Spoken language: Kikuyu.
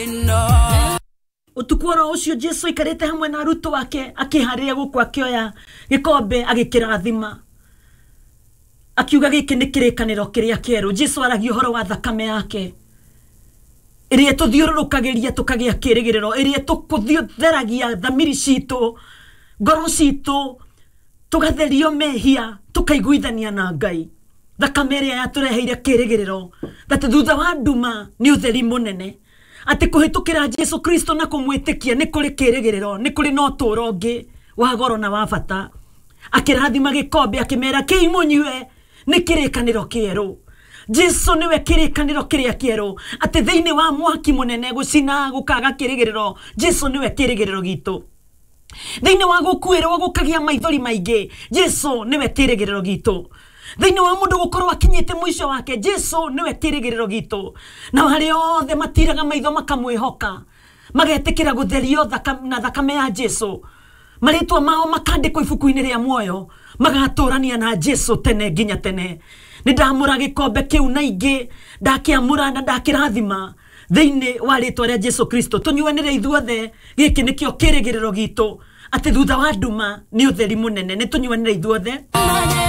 Ĩno. Ũtukũ oro ũcio Jesu aikarĩte hamwe na arutwo ake, akĩharĩria gũkũ, akĩoya gĩkombe, agĩkĩrathima, akiuga, "Gĩkĩ nĩ kĩrĩkanĩro kĩrĩa kĩerũ." Jesu aragia ũhoro wa thakame yake ĩrĩa tũthiũrũrũkagĩria tũkagĩa kĩrĩgĩrĩro, ĩrĩa tũkũtheragia thamiri citũ, ngoro citũ, tũgatherio mehia, tũkaiguithania na Ngai. Thakame ĩrĩa yatũreheire kĩrĩgĩrĩro that thutha wa nduma nĩ ũtheri mũnene, atĩ kũhĩtũkĩra Jesu Kristo na kũmwĩtĩkia nĩ kũrĩ kĩrĩgĩrĩro, nĩ kũrĩ na ũtũũro ũngĩ wa goro na wa bata. Akĩrathima gĩkombe, akĩmera, "Kĩi mũnyue, nĩ kĩrĩkanĩro kĩerũ." Jesu nĩwe kĩrĩkanĩro kĩrĩa kĩerũ, atĩ thĩinĩ wa mwaki mũnene gũcina gũkaga kĩrĩgĩrĩro, Jesu nĩwe kĩrĩgĩrĩro gitũ. Thĩinĩ wa gũkuĩrwo gũkagĩa maithori maingĩ, Jesu nĩwe kĩrĩgĩrĩro gitũ. Thĩinĩ wa mũndũ gũkorwo akinyĩte mũico wake, Jesu nĩwe kĩrĩgĩrĩro gitũ. Na arĩa othe matiraga maitho makamwĩhoka, magetĩkĩra gũtherio na thakame ya Jesu, marĩtwa mao makandĩkwo ibuku-inĩ rĩa muoyo, magatũrania na Jesu tene nginya tene. Nĩ ndamũra gĩkombe kĩu na ingĩ ndakĩamũra na ndakĩrathima thĩinĩ wa rĩtwa rĩa Jesu Kristo. Tũnyuanĩre ithuothe, gĩkĩ nĩkĩo kĩrĩgĩrĩro gitũ, atĩ thutha wa nduma nĩ ũtheri mũnene. Nĩ tũnyuanĩre ithuothe.